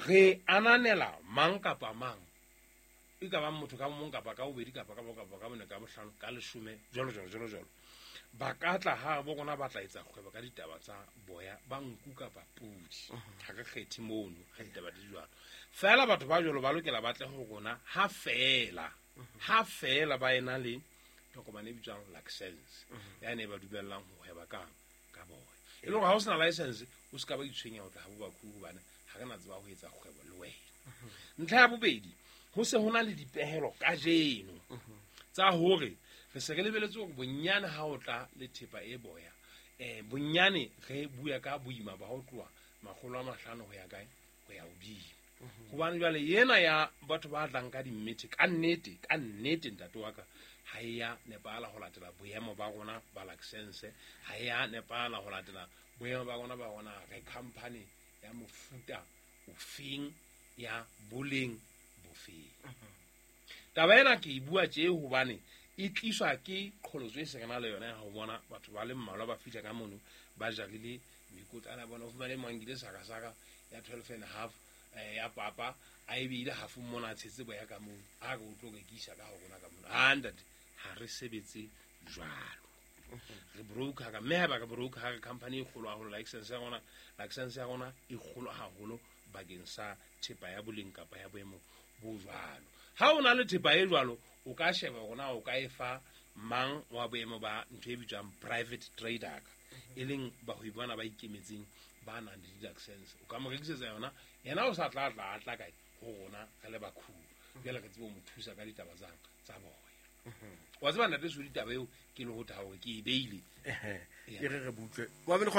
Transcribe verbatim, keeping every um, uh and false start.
Re ananela mang kapa mang, e ka bang motho ka mong kapa ka bobedi kapa ka bo kapa ka bone, ka bohlano, ka leshome, jwalo jwalo jwalo jwalo. Ba ka tla ha bo rona, ba tla etsa kgwebo ka ditaba tsa boya ba nku kapa pudi. Ha re kgethe mono ha ditaba di jwalo. Feela batho ba jwalo ba lokela ba tle ho rona ha feela ha feela ba ena le tokomane e bitswang license, ya ne ba dumellang ho hweba kang ka boya. E le hore ha o sena license, o se ka ba itshwenya ho tla ha bo bakhubu, hobane ha re na tseba ho etsa kgwebo le wena. Ntlha ya bobedi, ho se ho na le dipehelo kajeno tsa hore re se re lebeletse hore bonyane ha o tla le thepa e boya, eh bonyane re bua ka boima ba ho tloha makgolo a mahlano ho ya kae, ho ya hodimo. Hobane jwale yena ya batho ba tlang ka dimmethe, ka nnete, ka nnete ntate wa ka, ha e ya nepahala ho latela boemo ba rona ba license, ha e ya nepahala ho latela boemo ba rona ba rona re company ya mofuta ofeng, ya boleng bofeng. Taba ena ke e bua tje hobane e tliswa ke qholotso e se re na le yona ya ho bona batho ba le mmalwa ba fihla ka mono ba jarile mekotlana ya bona. O fumane mang nkile sakasaka ya twelve and a half, eh, ya papa, a e beile hafong mona, a tshetse boya ka mono, a re o tlo rekisa ka ho rona ka mono. Ha ntate, ha re sebetse jwalo. Re broker ka, mme haeba re broker ha re company e kgolo haholo, license ya rona, license ya rona e kgolo haholo bakeng sa thepa ya boleng kapa ya boemo bo jwalo. Ha o na le thepa e jwalo, o ka sheba hore na o ka e fa mang wa boemo ba ntho e bitswang private trader, e leng bahwebi bana ba ikemetseng ba nang le di-license. O ka mo rekisetsa yona, yena o sa tla tla a tla kae ho rona re le bakhubu. Jwale re tsebe ho mo thusa ka ditaba tsang tsa boya. Wa tseba ntate Sodi, taba eo ke le ho tha hore ke e beile. E re re butle.